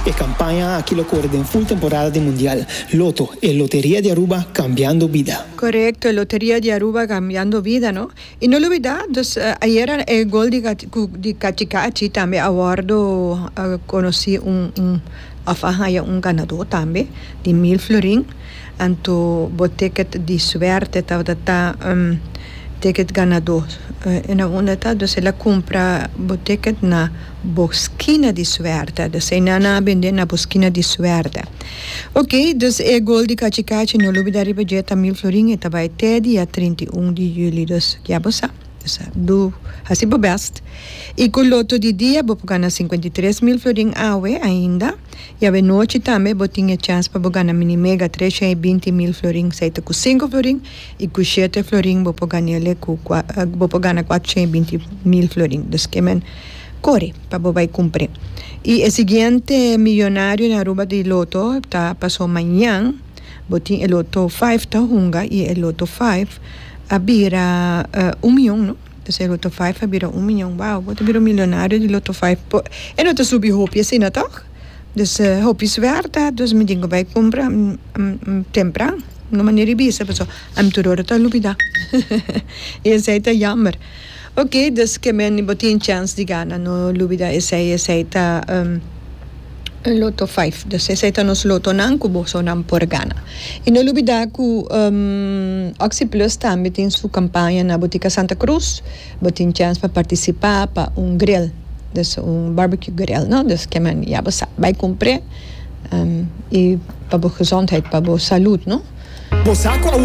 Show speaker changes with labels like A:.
A: E campaña aki lo core den full temporada di Mundial. Lotto, e loteria di Aruba cambiando bida.
B: Correcto, e loteria di Aruba cambiando bida, no? Y no lubida, dus ayera e gol di di Cachi Cachi tambe a wordo conoci un un of a haya un ganador tambe di mil florin. Anto bo ticket di suerte tabata ta ticket ganador. E na unda ta? Dus el a cumpra bo ticket na bo skina di suerte. Dus einan nan a bende na bo skina di suerte. Ok, dus e gol di Cachi Cachi no lubida riba dje ta mil florin e ta bai te dia 31 di juli. Dus ya bo sa. Dus do hasi bo best. Y cu loto di dia bo por gana 53 mil florin awe ainda. Y awe nochi tambe bo tin e chance pa bo gana mini mega 320 mil florin, esey ta cu 5 florin, y cu 7 florin bo por ganele cu bo por gana 420 mil florin. Dus ke men core pa bo bay cumpre. Y e siguiente millonario na Aruba di loto ta paso mañan, bo tin e loto 5 ta hunga y e loto 5 a bira 1 miyon, no? Dus e loto 5 a bira 1 miyon. Wow, bo ta bira un millonario di loto 5. E no ta subi hopi asina, toch? Dus hopi suerte, dus mi tin cu bay cumpra tempran. No manera di bisa, pasobra ami tur ora ta lubida. Y esey ta jammer. Ok, dus ke men bo tin chance di gana, no lubida esey, esey ta loto 5. Dus esey ta nos lotonan cu bosonan por gana. Y no lubida cu Oxi Plus tambe tin su campaña na Botica Santa Cruz. Bo tin chance pa participa pa un grill, dus un barbecue grill, no? Dus ke men ya bo sa, bay cumpre y pa bo gezondheid, pa bo salud, no?
A: Bo sa cu awor.